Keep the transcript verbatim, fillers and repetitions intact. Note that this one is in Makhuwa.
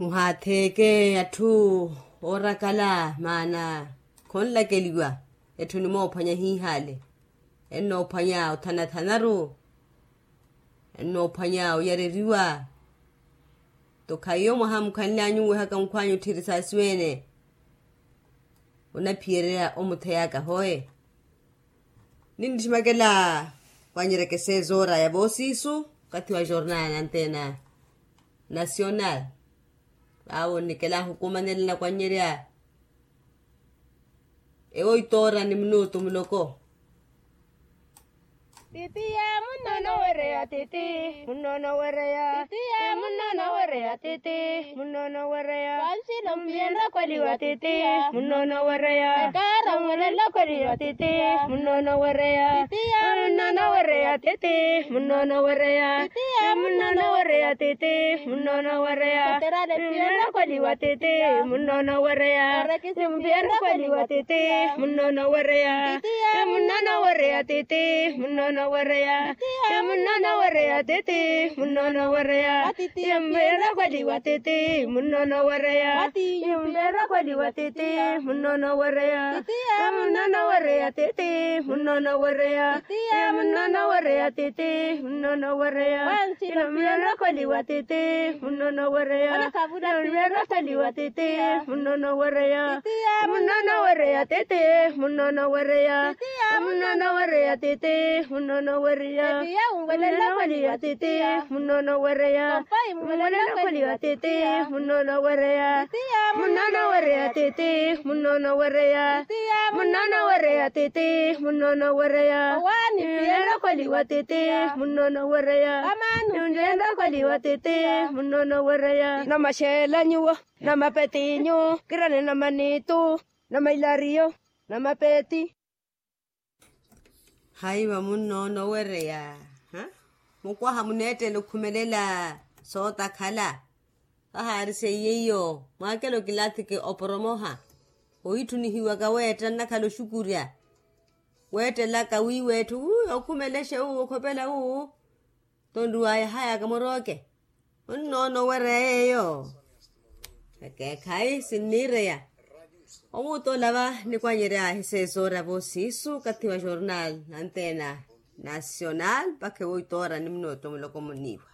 Muhaatheeke atthu oorakala maana khonlakeliwa. Etthu enimoophwanya hiihale, ennoophwanya othanathanaru, ennoophwanya oyareriwa. Tokhayiyo mwaha mukhanly'anyu nwehaka nkhw'anyu otthiri saasiwene, onaphiyererya omutheyaka hoye. Ninniximakela wanyerekese zoora ya voosiisu okathi wa jornal nanteena nasional. Vavo nnikela ahukumanela nakwannyerya ewo itoora ni minutu muloko. Titiya munnono wereya titi, munnono wereya titiya munnono wereya titi, munnono wereya. Wanxilo mpiyenra kweliwa titiya munnono wereya ekara mwelela kweliwa titiya munnono wereya titiya munnono wereya titi, munnono wereya titiya munnono wereya titi, munnono wereya. Mpiyenra kweliwa titi munnono wereya. Mpiyenra kweliwa titi munnono wereya. Munnono wereya titi munnono wereya. Munnono wereya titi munnono wereya. Mpiyenra kweliwa titi munnono wereya. Mpiyenra kweliwa titi munnono wereya. Munnono wereya titi munnono wereya. Munnono wereya titi munnono wereya. Mpiyenra kweliwa titi munnono wereya. Mpiyenra kweliwa titi munnono wereya. Munnono wereya titi munnono wereya. Munnono wereya titi munnono wereya. Mpiyenra kweliwa titi munnono wereya. Mpiyenra kweliwa titi munnono wereya. Munnono wereya titi munnono wereya. Munnono wereya titi munnono wereya. Mpiyenra kweliwa titi munnono wereya. Mpiyenra kweliwa titi munnono wereya. Namaxeela nyuwo, namapetinyu, kirani namanitu, namailariyo, namapeti. Hayi va munnono wereya. Mukwaha muneettela okhumelela sootakhala. Vahaari seiye iyo mwaakela okilathike oporomoha. Oitthunihiwaka weetta nnakhala oxukurya. Weettelaka wiiwa etthu wi okhumelexe wu okhopela wu. Tonriwaya haya kamorooke. Munnoono owereya yeeyo. Ekeekhayi sinniireya. Omuutola va nikwanyeryaahi seesoora voosiisu okathi wa jornal nanteena nasional mpakha ewo itoora ni munooto muloko muniiwa.